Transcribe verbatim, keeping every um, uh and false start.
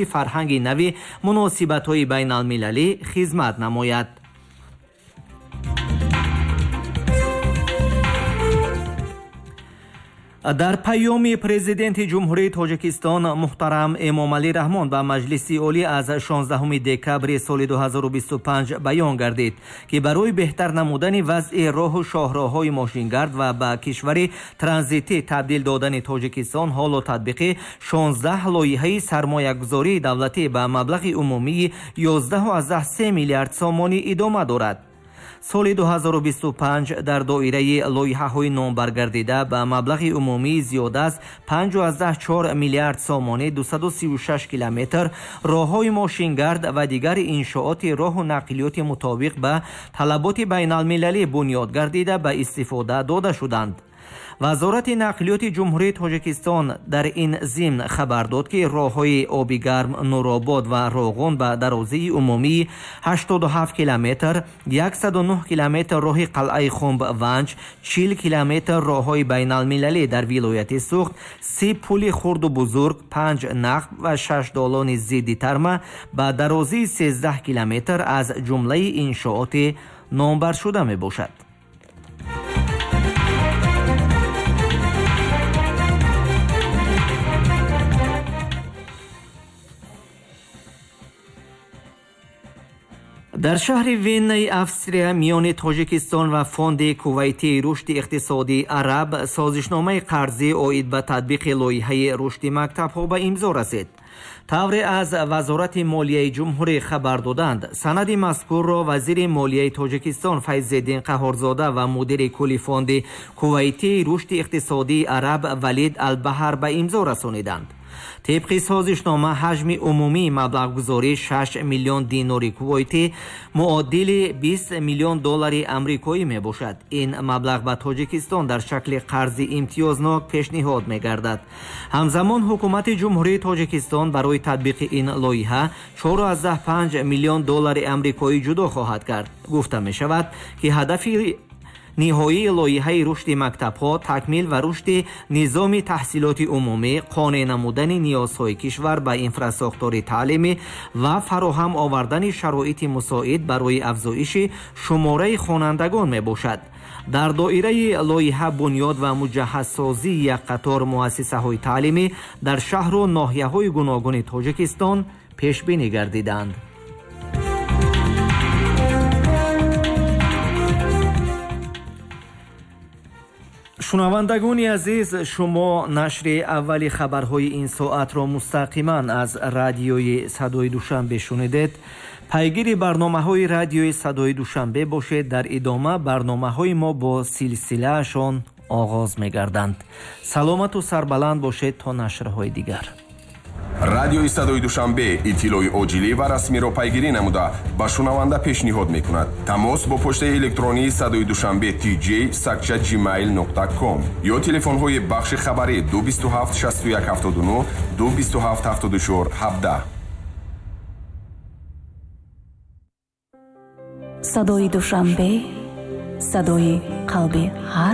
Фарҳанги нави муносибатҳои байналмилалӣ хизмат намояд. Дар паёми Президенти Ҷумҳурии Тоҷикистон муҳтарам Эмомалӣ Раҳмон ба Маҷлиси Олӣ аз шонздаҳуми декабри соли ду ҳазору бисту панҷ баён гардид, ки барои беҳтар намудани вазъи роҳу шоҳроҳҳои мошингард ва ба кишвари транзитӣ табдил додани Тоҷикистон ҳоло татбиқи шонздаҳ лоиҳаи сармоягузории давлатӣ ба маблағи умумии ёздаҳу се миллиард сомонӣ идома дорад. Соли ду ҳазору бисту панҷ дар доираи лоиҳаҳои номбаргардида ба маблағи умумии зиёда аз панҷу чор миллиард сомонӣ дусаду сию шаш километр роҳҳои мошингард ва дигар иншооти роҳу нақлиёти мутобиқ ба талаботи байналмилалӣ бунёд гардида, ба истифода дода шуданд. Вазорати нақлиёти Ҷумҳурии Тоҷикистон дар ин зимн хабар дод, ки роҳҳои Обигарм, Нуробод ва Роғун ба дарозии умумии ҳаштоду ҳафт километр, яксаду нӯҳ километр роҳи Қалъаи Хумб Ванҷ, чил километр роҳҳои байналмилалӣ дар вилояти Суғд, си пули хурду бузург, панҷ нақб ва шаш долони зидди тарма ба дарозии сездаҳ километр аз ҷумлаи иншооти номбаршуда мебошад. Дар шаҳри Веннаи Австрия миёни Тоҷикистон ва Фонди Кувайтии рушди иқтисодии араб созишномаи қарзӣ оид ба татбиқи лоиҳаи рушди мактабҳо ба имзо расид. Тавре аз Вазорати молияи ҷумҳурӣ хабар доданд, санади мазкурро вазири молияи Тоҷикистон Файзиддин Қаҳорзода ва мудири кулли Фонди Кувайтии рушди иқтисодии араб Валид Албаҳар ба имзо расониданд. Тибқи созишнома, ҳаҷми умумии маблағгузорӣ шаш миллион динори кувойтӣ, муодили бист миллион доллари амрикоӣ мебошад. Ин маблағ ба Тоҷикистон дар шакли қарзи имтиёзнок пешниҳод мегардад. Ҳамзамон ҳукумати Ҷумҳурии Тоҷикистон барои татбиқи ин лоиҳа чор панҷ миллион доллари амрикоӣ ҷудо хоҳад кард. Гуфта мешавад, ки ҳадафи ниҳоии лоиҳаи рушди мактабҳо такмил ва рушди низоми таҳсилоти умумӣ, қонеъ намудани ниёзҳои кишвар ба инфрасохтори таълимӣ ва фароҳам овардани шароити мусоид барои афзоиши шумораи хонандагон мебошад. Дар доираи лоиҳа бунёд ва муҷаҳҳазсозии як қатор муассисаҳои таълимӣ дар шаҳру ноҳияҳои гуногуни Тоҷикистон пешбинӣ гардиданд. Шунавандагони азиз, шумо нашри аввали хабарҳои ин соатро мустақиман аз Радиои Садои Душанбе шунидед. Пайгири барномаҳои Радиои Садои Душанбе бошед. Дар идома барномаҳои мо бо силсилаашон оғоз мегарданд. Саломату сарбаланд бошед то нашрҳои дигар. Радиои Садои Душанбе иттилои оҷилӣ ва расмиро пайгирӣ намуда, ба шунаванда пешниҳод мекунад. Тамос бо почтаи электронии Садои Душанбе T J сагча gmail нуқта ком ё телефонҳои бахши хабарӣ ду бисту ҳафт шасту як ҳафтоду нӯҳ, ду бисту ҳафт ҳафтоду чор ҳабдаҳ. Садои Душанбе, садои қалби ҳар